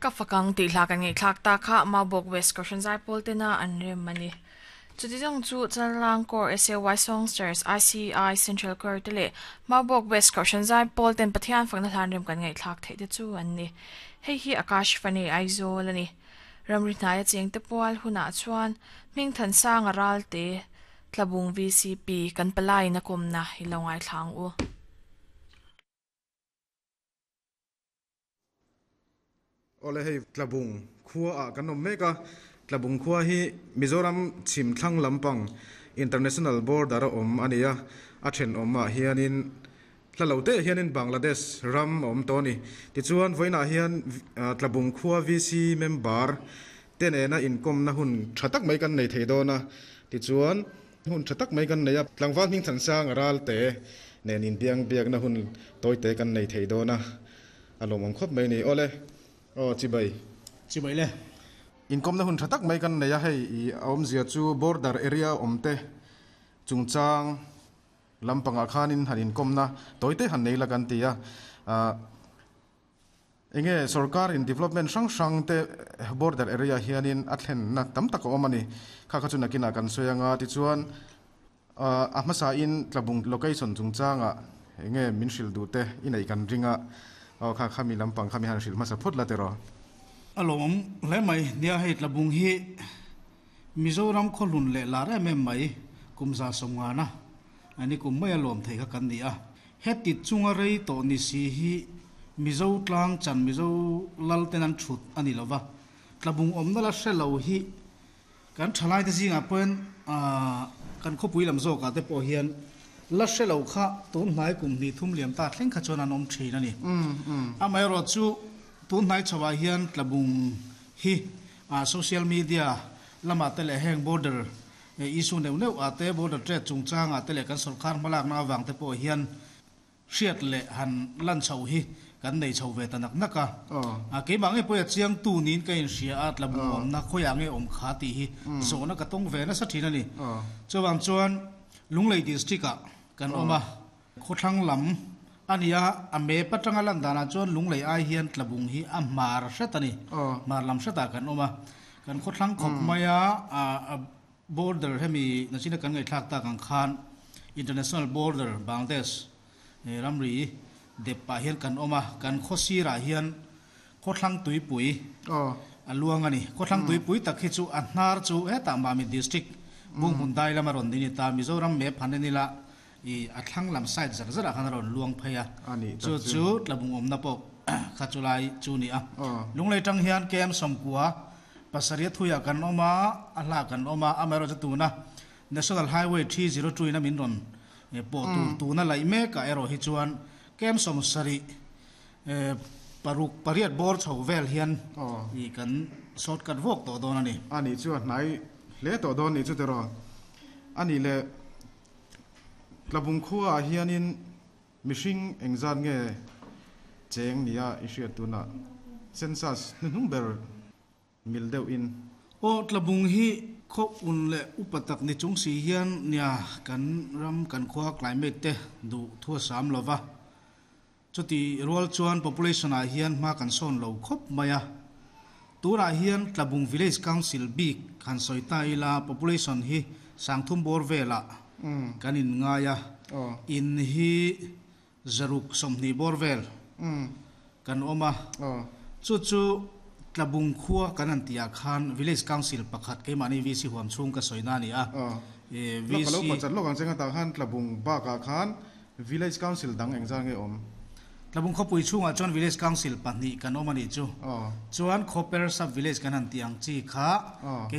Ka fakang tih hla kan ngaihthlak ta kha Maubawk West Kohhran Zaipawl tena an rem a ni. Chuti zawng chu Chalrang Corps SAY Songsters ICI Central Choir te leh Maubawk West Kohhran Zaipawl ten Pathian fakna hlan rem kan ngaihthlak theih te chu an ni. Hei hi Akash Fane Aizawl a ni. Ramri hnaia chengte pual hunah chuan Hmingthansanga Ralte Tlabung VCP kan palaiin a kawmna i lo ngaithla ang u. Awle hei Tlabung khua ah kan awm mek a, Tlabung khua hi Mizoram chhim thlang lampang International Border a awm a ni a, a thenawm ah hianin hla lo te hianin Bangladesh ram a awm tawh a ni. Tichuan vawiinah hian Tlabung khua VC member te nena inkawmna hun tha tak mai kan nei thei dawn a, tichuan hun tha tak mai kan nei a, tlangval hming thansang a ral te nen inbiang biakna hun tawi te kan nei thei dawn a, a lawmawm khawp mai a ni. Awle, aw chibai. Chibai le. Inkawmna hun tha tak mai kan nei a, hei i a awmzia chu border area awm te chungchang lampangah khanin han inkawmna tawi te han nei la kan ti a, ah. Enge sorkar in development hrang hrang te border area hianin a thlenna tam tak a awm a ni. Kha kha chu nakinah kan sawi anga tichuan a hmasa in Tlabung location chungchangah enge min hrilh duh te i neih kan ring a, aw kha khami lampang kha mi han hrilh hmasa phawt la tiraw. A lawmawm hle mai, nia hei Tlabung hi Mizoram khawhlun leh lar em em mai kum 150 a ni kum maia lawm thei kha kan ni a. Heti chunga rei tawh ni si hi Mizo tlang chan Mizo lal ten an thut a ni lova, tlabung awmna la hre lo hi kan thalaite zingah pawhin kan khawpui lam zawkah te pawh hian la hre lo kha tun hnai kum hnih thum liam ta thleng kha chuan an awm thin a ni. Amaherawh chu tun hnai chhoah hian tlabung hi social media lamah te leh heng border He issue neuh neuh ah te border trade chungchang ah te leh kan sorkar hmalakna avang te pawh hian hriat leh han lan chhoh hi kan nei chho ve ta nak nak a. Keimah nge pawh a chiang tu niin ka inhria a, tlabung awmna khawiah nge awm kha tih hi zawhna ka tawng ve nasa thin a ni. Chuvang chuan Lunglei district ah kan awm a, khawthlang lam a ni a, a map atanga lan danah chuan Lunglei ai hian tlabung hi a hmar hret a ni, hmar lam hretah kan awm a. Kan khawthlang khawp mai a, border hemi nachina kan ngaihthlak tak ang khan international border Bangladesh ramri dep pah hian kan awm a, kan khaw sirah hian khawthlang tuipui a luang a ni. Khawthlang tuipui tak hi chu a hnar chu hetah Mamit district Bunghmun dai lama rawn ni ni ta, Mizoram map han en ila I a thlang lam side zar zarah khan a rawn luang phei a, chu chu tlabung awmna pawh kha chu lai chu ni a. Lunglei tang hian KM 90 pasarih thuiah kan awm a, a hla kan awm a, amaherawh chu tuna National Highway 302 in a min rawn pawh tur tuna laih mekah erawh hi chuan KM 70 paruk pariat bawr chho vel hian i kan shortcut vawk tawh dawn a ni. A nih chu a hnai hle tawh dawn nih chu tiraw? A nih leh. Tlabung khuaah hianin mihring engzat nge cheng nia i hriat tunah census hnuhnung ber mil deuhin. Aw, Tlabung hi khaw un leh upa tak ni chung si hian nia kan ram kan khua climate te duh thu a sam lo va. Chuti rual chuan population ah hian hma kan sawn lo khawp mai a. Tunah hian Tlabung Village Council bik han sawi ta ila population hi sangthum bawr velah kan in ngai a, in hi zaruk 20 bawr vel kan awm a. Chu chu Tlabung khua kan han tih ah khan Village Council pakhat keimahni VC huam chhung ka sawi na a ni a. VC. Lawk ka lo pawh chat lawk ang che nga tah khan Tlabung bakah khan Village Council dang engzah nge awm? Tlabung khawpui chhungah chuan Village Council pahnih kan awm a nih chu. Chuan Khawper Sub Village kan han tih ang chi kha kei.